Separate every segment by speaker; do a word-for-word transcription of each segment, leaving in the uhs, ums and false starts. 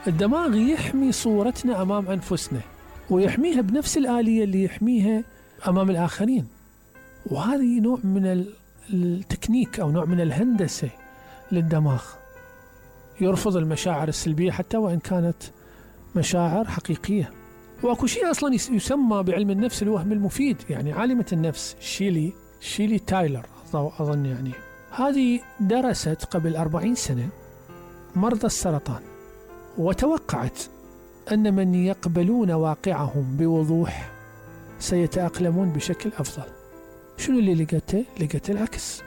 Speaker 1: الدماغ يحمي صورتنا أمام أنفسنا، ويحميها بنفس الآلية اللي يحميها أمام الآخرين. وهذه نوع من التكنيك أو نوع من الهندسة للدماغ، يرفض المشاعر السلبية حتى وإن كانت مشاعر حقيقية. وأكو شيء أصلا يسمى بعلم النفس الوهم المفيد، يعني عالمة النفس شيلي شيلي تايلر أظن، يعني هذه درست قبل أربعين سنة مرضى السرطان، وتوقعت أن من يقبلون واقعهم بوضوح سيتأقلمون بشكل أفضل. شنو اللي لقيته؟ لقيت العكس.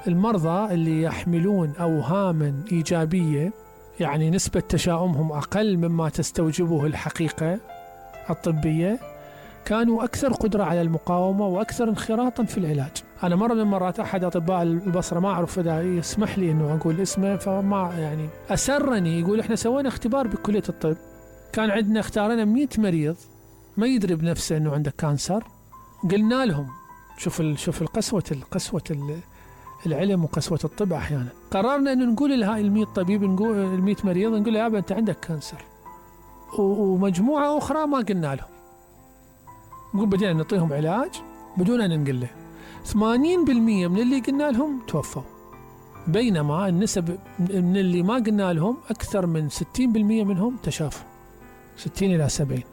Speaker 1: المرضى اللي يحملون أوهاما إيجابية، يعني نسبة تشاؤمهم أقل مما تستوجبه الحقيقة الطبية، كانوا أكثر قدرة على المقاومة وأكثر انخراطا في العلاج. أنا مرة من مرات أحد أطباء البصرة، ما أعرف إذا يسمح لي أنه أقول اسمه، فما يعني أسرني، يقول إحنا سوينا اختبار بكلية الطب، كان عندنا اختارنا مئة مريض ما يدري بنفسه أنه عنده كانسر، قلنا لهم شوف شوف القسوة القسوة العلم وقسوة الطب. أحيانا قررنا أن نقول لهاي المئة طبيب، نقول المئة مريض، نقول له يابا أنت عندك كانسر، ومجموعة أخرى ما قلنا لهم، نقول بدينا نعطيهم علاج بدون أن نقول له. ثمانين بالمئة من اللي قلنا لهم توفوا، بينما النسب من اللي ما قلنا لهم أكثر من ستين بالمئة منهم تشافوا، ستين إلى سبعين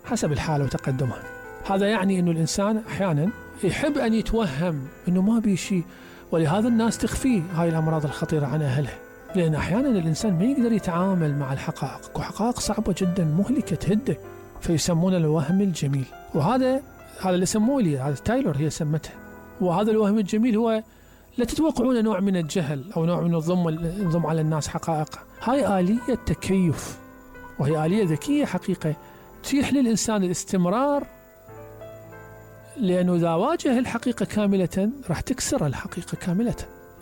Speaker 1: حسب الحالة وتقدمها. هذا يعني أنه الإنسان أحيانا يحب أن يتوهم أنه ما بي شيء، ولهذا الناس تخفي هاي الأمراض الخطيرة عن أهلها، لأن أحيانا الإنسان ما يقدر يتعامل مع الحقائق، وحقائق صعبة جدا مهلكة تهده، فيسمون الوهم الجميل. وهذا هذا اللي سموه لي، هذا تايلور هي سمته. وهذا الوهم الجميل هو لا تتوقعون نوع من الجهل أو نوع من الضم الضم على الناس حقائق. هاي آلية تكيف، وهي آلية ذكية حقيقة تتيح للإنسان الاستمرار، لأنه إذا واجه الحقيقة كاملة راح تكسر الحقيقة كاملة.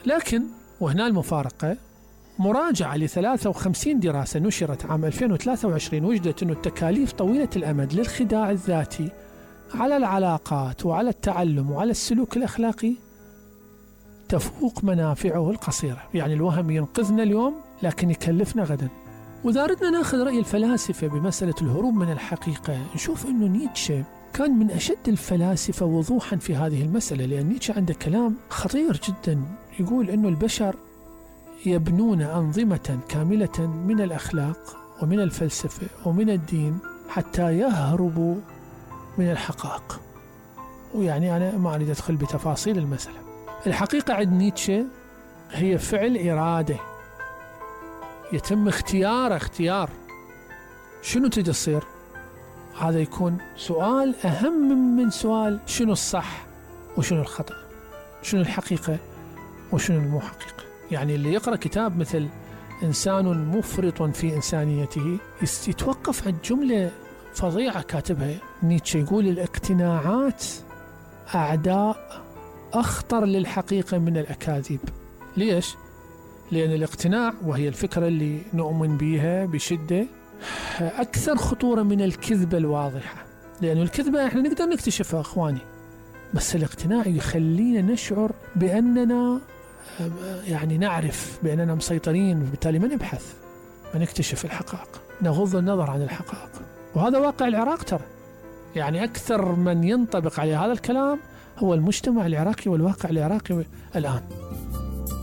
Speaker 1: لكن وهنا المفارقة، مراجعة ل ثلاثة وخمسين دراسة نشرت عام ألفين وثلاثة وعشرين وجدت أن التكاليف طويلة الأمد للخداع الذاتي على العلاقات وعلى التعلم وعلى السلوك الأخلاقي تفوق منافعه القصيرة. يعني الوهم ينقذنا اليوم لكن يكلفنا غدا. وإذا أردنا نأخذ رأي الفلاسفة بمسألة الهروب من الحقيقة، نشوف أنه نيتشه كان من أشد الفلاسفة وضوحا في هذه المسألة، لأن نيتشه عنده كلام خطير جدا، يقول أنه البشر يبنون أنظمة كاملة من الأخلاق ومن الفلسفة ومن الدين حتى يهربوا من الحقائق. ويعني أنا ما أريد أدخل بتفاصيل المسألة. الحقيقة عند نيتشه هي فعل إرادة يتم اختيار اختيار شنو تريد تصير. هذا يكون سؤال أهم من سؤال شنو الصح وشنو الخطأ، شنو الحقيقة وشنو المو حقيقة. يعني اللي يقرأ كتاب مثل إنسان مفرط في إنسانيته يتوقف عند جملة فظيعة كاتبها نيتشه، يقول الاقتناعات أعداء أخطر للحقيقة من الأكاذيب. ليش؟ لأن الاقتناع، وهي الفكرة اللي نؤمن بها بشدة، أكثر خطورة من الكذبة الواضحة. لأن الكذبة إحنا نقدر نكتشفها أخواني، بس الاقتناع يخلينا نشعر بأننا يعني نعرف بأننا مسيطرين، وبالتالي ما نبحث، ما نكتشف الحقائق، نغض النظر عن الحقائق. وهذا واقع العراق ترى، يعني أكثر من ينطبق عليه هذا الكلام هو المجتمع العراقي والواقع العراقي الآن.